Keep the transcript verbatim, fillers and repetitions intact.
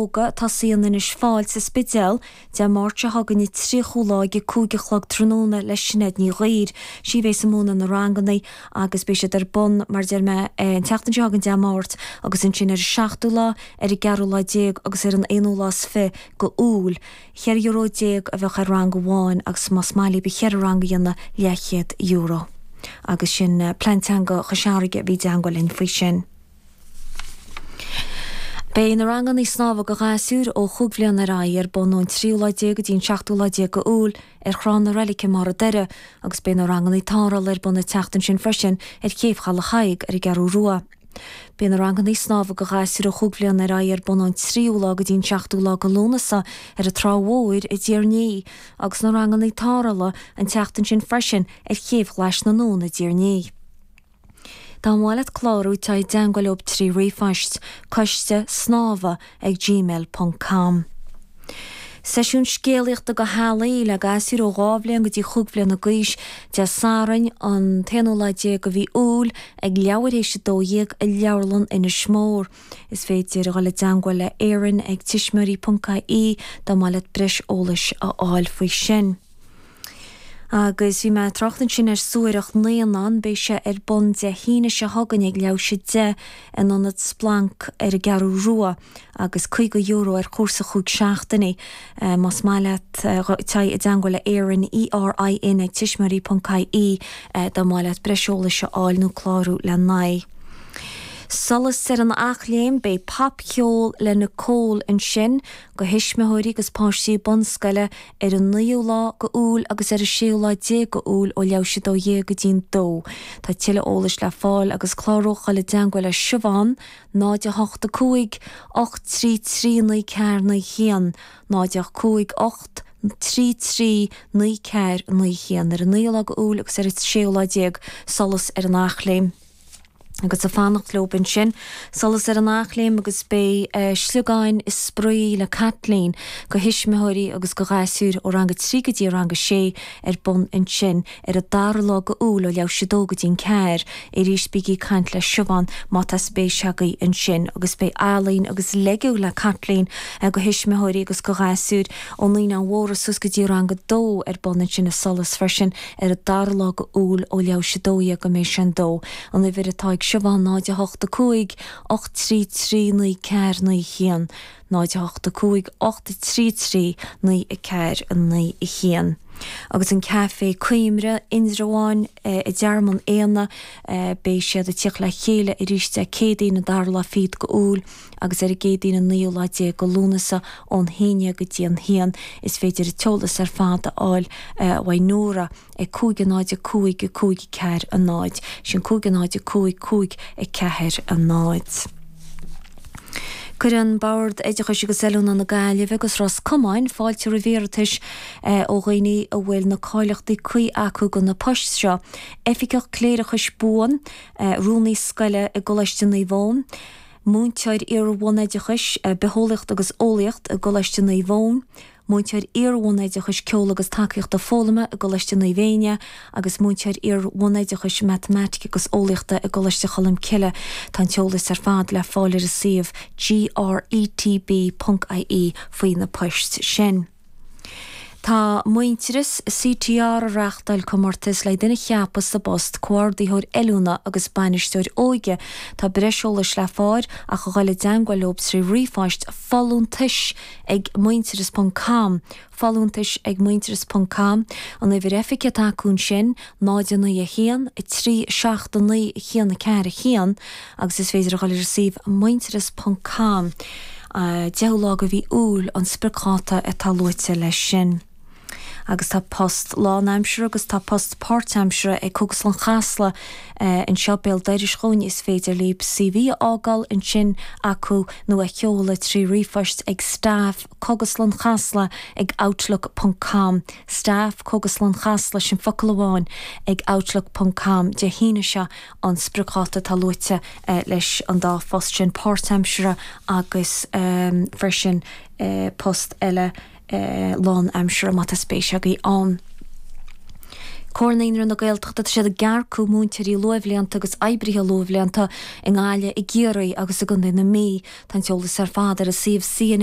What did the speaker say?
ióga tosaíonn anois fáil sa Spidéal Dé Máirt seo chugainn an tríochú lá ag a cúig a chlog tráthnóna le Sinéad Ní Ghaoir. Sí a bheas ag múineadh na ranganna agus beidh siad ar bun mar deir mé an tseachtain seo chugainn Dé Máirt agus ansin ar an seachtú lá, ar an gceathrú lá déag agus ar an aonú lá is fiche go Iúil. Cheithre euro déag a bheadh ar rang amháin agus más maith libh cheithre rang a dhéanamh leathchéad euro. Agus sin Plean Teanga Chois Fharraige a bhí i dteangmháil linn faoi sin. Beidh na ranganna snámha do ghasúir ó chúig bhliana ar aghaidh ar bun ón tríú lá déag go dtí an seachtú lá déag go Iúil ar Thrá na Reilice i mBarr an Doire agus beidh na ranganna tarrthála ar bun an tseachtain sin freisin ar Chéibh Chaladh Thaidhg ar an gCeathrú Rua. Beidh na ranganna snámha do ghasúir ó chúig bhliana ar aghaidh ar bun ón tríú lá go dtí an seachtú lá go Lúnasa ar an Trá Mhór i dTír an Fhia agus na ranganna tarrthála an tseachtain sin freisin ar Chéibh Ghlais na nDún i dTír an Fhia. Dá mba mhaith leat clárú téigh i dteangmháil leo trí ríomhphost coiste snámha ag gmail ponc com. Seisiún scéalaíochta do theaghlaigh le gasúir ó dhá bhliain go dtí chúig bhliana d'aois Dé Sathairn an t-aonú lá déag de mhí Iúil ag leathuair théis a dó dhéag i Leabharlann Inis Mór. Is féidir a dhul i dteangmháil le Erin ag tuismitheoirí ponc ie dá mba mhaith leat breis eolais a fháil faoi sin. Agus bhí mé ag trácht ansin ar Suathaireacht Naíonán, beidh sé ar bun Dé hAoine seo chugainn ag leathuair théis a deich in ionad Splanc ar an gCeathrú Rua agus caoga euro ar chúrsa chúig seachtainí. Más maith leat téigh i dteangmháil le Erin, E R I N ag tuismitheoirí ponc I E dá mba mhaith leat breis eolais a fháil nó clárú le n-aghaidh. Solas ar an Eachléim, beidh popcheol le Nicole ansin do thuismitheoirí agus páistí bunscoile ar an naoú lá go Iúil agus ar an séú lá déag go Iúil ó leathuair théis a dó dhéag go dtí'n dó. Tá tuilleadh eolais le fáil agus clárú dul i dteangmháil le Siobhán, náid a hocht a cúig, ocht trí trí naoi ceathair naoi haon, náid a cúig ocht trí trí naoi ceathair naoi haon ar an naoú lá go Iúil agus ar an séú lá déag Solas ar an Eachléim. Agus ag fanacht leo ansin Solas ar an Eachléim agus beidh uh, sliogáin is spraoi le Kathleen do thuismitheoirí agus do ghasúir ó rang a trí go dtí rang a sé ar bun ansin ar an dara lá go Iúil ó leathuair théis a dó go dtí'n ceathair arís bígí ag caint le Siobhán má tá spéis agaibh ansin agus beidh ealaín agus Lego le Kathleen uh, do thuismitheoirí agus do ghasúir ó naíonáin mhóra suas go dtí rang a dó ar bun ansin i Solas freisin ar an dara lá go Iúil ó leathuair théis a dó go méid sin dó. An uimhir atá ag Siobhán náid a hocht a cúig ocht trí trí naoi ceathair naoi haon, náid a hocht a cúig ocht trí trí naoi a ceathair naoi a haon. Agus an caife Coimre Indreabhán i dTearmann Éanna beidh siad ag teacht le chéile arís Dé Céadaoin an dara lá fichead go Iúil agus ar an gCéadaoin an naoú lá déag go Lúnasa ón haon déag go dtí an haon is féidir an t-eolas ar fad a fháil uaidh Nóra ag cúig a náid a cúig a cúig ceathair a náid, sin cúig a náid a cúig cúig a ceathair a náid. Cuireann Bord Oideachais agus Oiliúna na Gaillimhe agus Ros Comáin fáilte roimh iarratais ó dhaoine a bhfuil na cáilíochtaí cuí acu do na poist seo. Oifigeach Cléireachais Buan, rúnaí scoile i gColáiste Naomh Eoin, múinteoir iar-bhunoideachais, bitheolaíocht agus eolaíocht i gColáiste Naomh Eoin, múinteoir iar-bhunoideachais ceol agus tacaíochta foghlama i gColáiste Naomh Éinne agus múinteoir iar-bhunoideachais matamaitic agus eolaíochta i gColáiste Cholm Cille. Tá an t-eolas ar fad le fáil ar a suíomh G R E T B ponc I E faoi na poist sin. Tá Muintearas C T R ag reáchtáil comórtas le duine a cheapadh sa bpost comhordaitheoir oiliúna agus bainisteoir óige. Tá breis eolais le fáil ach a dhul i dteangmháil leo trí ríomhphost folúntais ag muintearas ponc com folúntais ag muintearas ponc com an uimhir oifige atá acu sin náid naoi a haon trí seacht naoi haon ceathair haon agus is féidir a dhul ar suíomh muintearas ponc com. Deichiú lá go mhí Iúil an spriocdháta atá luaite leis sin. Agus tá post lánaimseartha agus tá post páirtaimseartha ag Cógaslann Chasla anseo béal dorais dhúinn is féidir libh C V a fhágáil ansin acu nó a sheoladh trí ríomhphost ag staff Cógaslann Chasla ag outlook ponc com staff Cógaslann Chasla sin focal amháin ag outlook ponc com Dé hAoine seo an spriocdháta atá luaite leis an dá phost sin páirtaimseartha agus um, freisin uh, post eile uh, lánaimseartha má tá spéis agaibh ann. Comhar Naíonraí na Gaeltachta tá siad ag earcú múinteoirí luathbhlianta agus oibrithe luathbhlianta i nGaillimh i gCiarraí agus i gContae na Mí. Tá an t-eolas ar fad ar a suíomh C N N